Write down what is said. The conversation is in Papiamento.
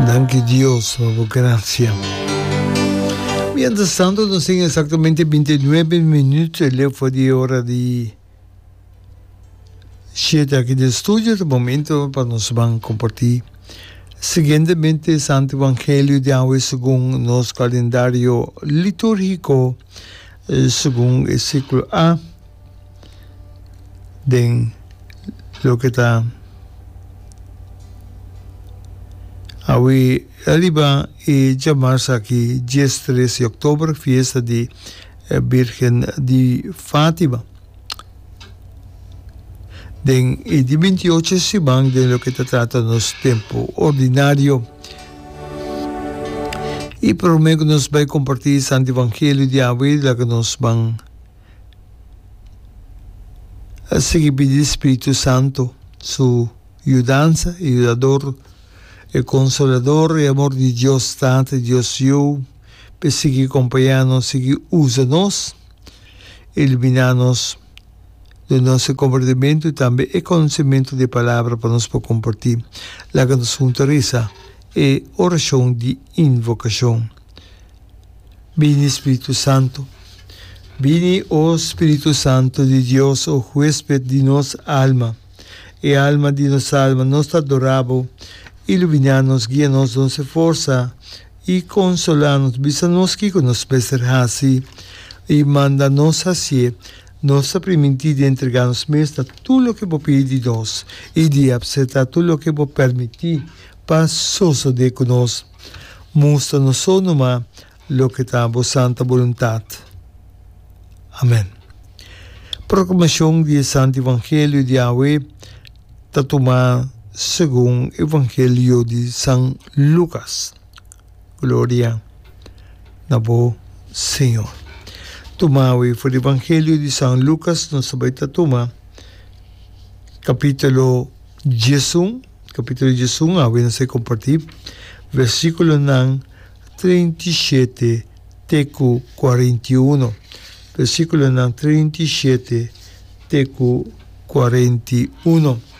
Danki Dios pa bo gracia. Mientras tanto nos tin exactamente 29 minuut leu for di e ora di shete aki den studio. Ta momento pa nos ban comparti siguientemente Santo Evangelio di awe segun nos calendario liturgico segun e ciclo A. Den loke ta awe riba e djamars aki diestres di oktober, fiesta di Birgen di Fatima. Den e di bintiocho siman den loke ta trata nos tempu ordinario. I prome ku nos bai kompartí Santo Evangelio di awe laga nos ban. A sigui pidi Spiritu Santu su yudansa, e Yudador, e Konsolador, e amor di Dios Tata i Dios Yu, p'e sigui kompañá nos, sigui usa nos, iluminá nos, duna nos e komprendimentu i tambe e konosementu di e Palabra pa nos por kompartí. Laga nos huntu resa e orashon di invokashon. Bini Spiritu Santu. Bini, o Spiritu Santu di Dios, o huesped di nos alma, e alma di nos alma, nos ta adorá Bo. Iluminá nos, guia nos, duna nos e forsa i konsolá nos. Bisa nos kiko nos mester hasi i manda nos hasié. Nos ta primintí di entregá nos mes na tur loke Bo pidi di nos i di apseptá tur loke Bo permití pa sosodé ku nos. Mustra nos so numa loke ta bo santa boluntat. Amen. Proklamashon di e Santu Evangelio di awe ta tumá segun Evangelio di San Lukas. Gloria na bo, Señor. Tuma awe for di Evangelio di San Lukas nos ta bai ta tuma kapitulo diesun. Capítulo diesun awe nos ta comparti versiculonan 37 te cu 41. Versiculonan 37 te cu 41.